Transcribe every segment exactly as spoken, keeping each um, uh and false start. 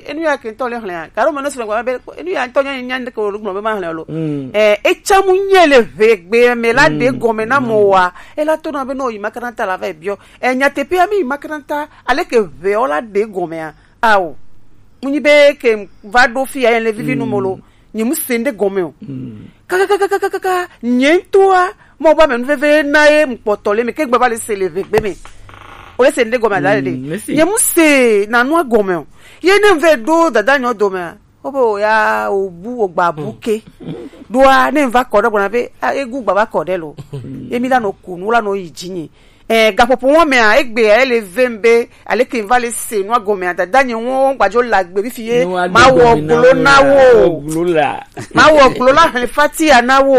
Enu ya ke ŋutɔ le xlẽ a. Karo me ne srɔ̃ gba be, enu ya ŋutɔ nya, nya ɖeke wo gblɔ be ma xlẽ o lo. Mm. Eh, etsa mu nye le ʋe gbe me la ɖe gɔme na mo wa. Ela to na be no yi makaranta la va biɔ. Eh, nyateƒea mi yi makaranta, ale ke ʋe o la ɖe gɔme a. Ao. Mu nyi be ke va ɖo fi ya le vivi nu mo lo. Nye mu se ŋɖe gɔme o. Kakakakakaka, nye ŋutɔa, mɔ ba me nuveve na ye ŋkpɔtɔ le me ke gbe va le se le ʋegbe me. O le se ŋɖe gɔme ada le ɖe. Nye mu se na nua gɔme o. Ye ne ŋve ɖo dada nyɔ dome a, o be o ya o bu o gba bu ke. Ɖoa ne ŋva kɔ ɖe gbɔna be, a, egu gba va kɔ ɖe lo. Ye mi la no ku nu la no yi dzi nyi. Eh, gaƒoƒo wɔn mea, egbe ya ele vem be, ale ke va le se nua gɔmea, dada nye wɔn gbadzo le agbe fifi ye. Ma wɔ glo na wo. Ma wɔ glo la xlẽ fatia na wo.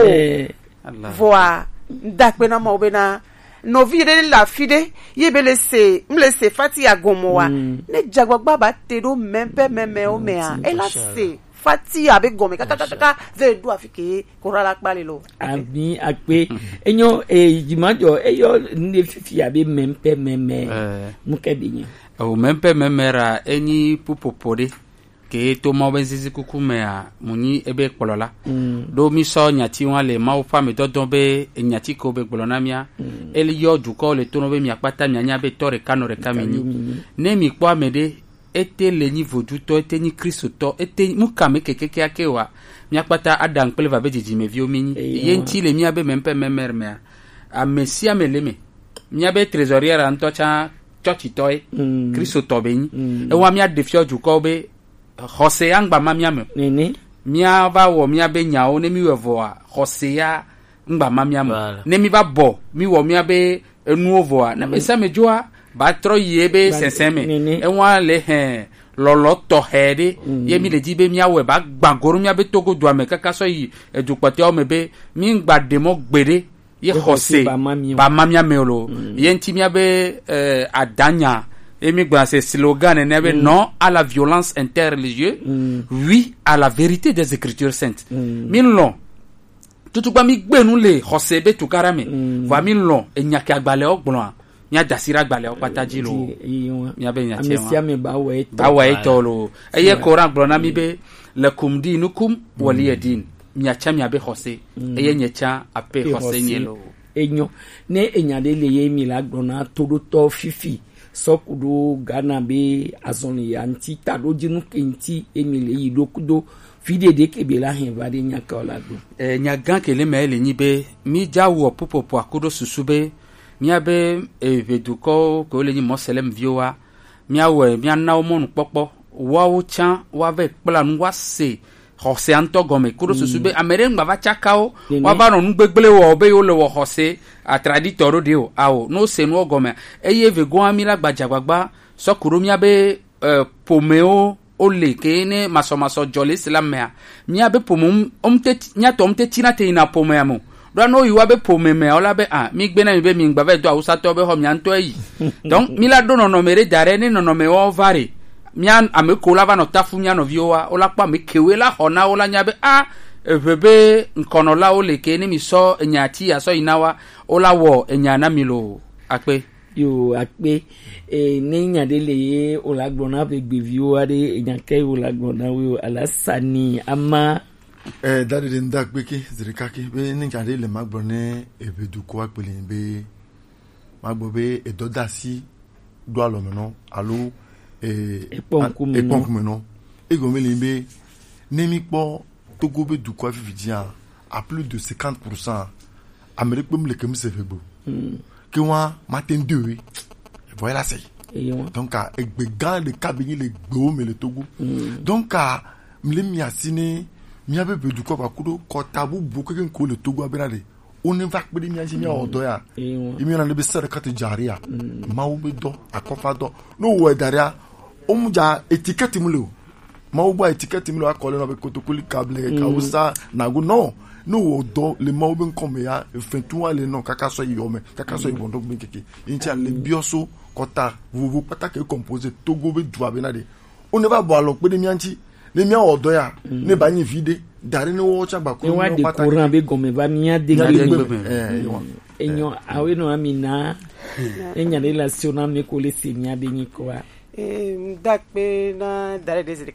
Vɔa, ŋda akpe na Mawu bena, nɔvi ɖe le afi ɖe, ye be le se, m le se fatia gɔmɔ wa. Ne dzagbagba ba te ɖo mɛmpɛ mɛmɛwo mea, ela se fatia be gɔme kakakaka ve ɖo afi ke kora la kpa le lo. Ami akpe. Enyo, eh, jimajɔ, eyɔ ne fifi abe mɛmpɛ mɛmɛ. Eh. Mu ke be nyi. O mɛmpɛ mɛmɛ ra, enyi pupopo ɖe. Ke to mɔ be zizi kuku mea, mu nyi ebe kplɔ la. Ɖo mi sɔ nyati wa le Mawu ƒe ame dɔdɔ be nyati ko be gblɔ na mia. Eli yɔ dukɔ le to nɔ be mia kpata mia nya be tɔ ɖeka nɔ ɖeka mi nyi. Ne mi kpɔ ame ɖe, ete le nyi vodutɔ, ete nyi Kristotɔ, ete mu kame kekeke ake wa. Mia kpata Adam kple va be dzidzimeviwo mi nyi. Ye ŋuti le mia be mɛmpɛ mɛmɛ mea, ame sia ame le me. Mia be trésorier ŋutɔ tsã tsɔtsitɔe, Kristotɔ be nyi. Ewa mia ɖe fiɔ dukɔ be xɔse angba ma mia me. Mia va wɔ mia be nyawo ne mi wɔ vɔa, xɔse ya ŋgba ma mia me. Ne mi va bɔ, mi wɔ mia be enuwo vɔa, ne me se me dzoa, ba trɔ yi ebe sɛnsɛn me. Ewa le hɛn lɔlɔ tɔxɛ ɖe, ye mi le di be mia wɔ ba gba goro mia be Togo dua me kaka sɔ yi edu kpɔtɔewo me be mi ŋgba ɖe mɔ gbeɖe ye xɔse ba ma mia me o lo. Ye ŋuti mia be, eh, adanya, ye mi gblɔna se slogan nene be non à la violence interreligieuse, oui à la vérité des Écritures saintes. Mi lɔn tutuba mi gbe nu le xɔse be tukaɖa me. Vɔa mi lɔn enya ke agbalẽwo gblɔa, mia da asi ɖe agbalẽwo kpata dzi lo. Mia be nya tse wa. Ba wɔ etɔ lo. Eye Koran gblɔ na mi be, lakum dinukum waliya din. Mia tsã mia be xɔse. Eye nye tsã ape xɔse nye lo. Enyo. Ne enya ɖe le ye mi la gblɔ na toɖotɔ fifi. Sɔ ku ɖo Ghana be azɔli ya ŋuti, taɖodzinu ke ŋuti emi le yi ɖo kudo fi ɖeɖe ke be la hɛn va ɖe nya ka o la do. Eh, nya gã ke le me le nyi be mi dza wɔ pupopo akuɖo susu be mia be, eh, ʋedukɔwo ke wo le nyi Moslem viwo wa, mia wɔ mia na wo mɔnukpɔkpɔ, woawo tsã woava kpla nu woase xɔsea ŋutɔ gɔme, kuɖo susu be ame ɖe ŋgba va tsaka wo, woava nɔ nu gbegblẽ wɔ be yewo le wɔ xɔse atraditɔ ɖo ɖe o, ao, ne wose nuwo gɔme, eye vegoa mi la gbadzagbagba sɔ ku ɖo mia be, eh, ƒomewo wo le ke ne masɔmasɔ dzɔ le Islam mea, mia be ƒome ŋu, wo ŋute ti-, mia tɔ ŋute tina te yina ƒomea me o. Ɖoa ne woyi wa be ƒome mea, wola be, ah, mi gbe na mi be mi ŋgba va do awusatɔwo be xɔ mia ŋutɔ yi. Donc, mi la ɖo nɔnɔme ɖe da ɖe, ne nɔnɔme wɔ va ɖe, mia ame ko la va nɔ tafu mia nɔviwo wa, wola kpɔ ame kewoe la xɔ na wo la nya be, ah, eʋe be ŋkɔnɔlawo le ke, ne mi sɔ enya ti asɔ yi na wa, wola wɔ enya na mi lo. Akpe. Yo, akpe. E, ne nya ɖe le ye wola gblɔ na be gbeviwo aɖe, enya ke wola gblɔ na wo, ala sani ama. Eh, da ɖe ɖe ŋda kpe ke, zirika ke, be ne nya ɖe le magblɔ ne ebe dukɔ akpele be magblɔ be edɔdasi ɖo alɔ me nɔ alo, eh, ekpɔ ŋkume nɔ. Ekpɔ ŋkume nɔ. Egɔme le be ne mi kpɔ Togo be dukɔ fifi dzia, à plus de cinquante pour cent, ame ɖe kpem le kem se ve gbe o. Ke wa ma te ŋde we. Vɔ la se. Donc, a, egbe gã ɖeka be nyi le gbewo me le Togo. Donc, a, mle mi asi ne mia be be dukɔ va kuɖo kɔta bubu keke ŋko le Togo abena ɖe. Wo ne va kpe ɖe mia dzi mia wɔ dɔ ya. Ye mi yɔna ɖe be sadakati jariya. Mawu be dɔ, akɔfa dɔ. No wɔ da ɖea, wo mu dza etikɛti mu le o. Mawu gbɔ etikɛti mi le akɔ le nɔ be kotokoli kable, kawusa, nagu, nɔ. Ne wɔ dɔ le Mawu be ŋkɔ me ya, efɛtu wa le nɔ kaka sɔ yi yɔ me, kaka sɔ yi bɔndɔ gbe keke. Ŋtsi ale biɔ so kɔta vovo kpata ke composé Togo be dua be na ɖe. Wo ne va bɔ alɔ kpe ɖe mia ŋtsi, ne mia wɔ dɔ ya, ne ba nyi vi ɖe, da ɖe ne wɔ tsa gba ko ne wa de kpata. Courant be gɔme va mia de gbe me. Eh, yo. Enyo, awe no amina. Enya ɖe la sio na me ko le se mia be nyi ko wa. Eh, ŋda kpe na da ɖe de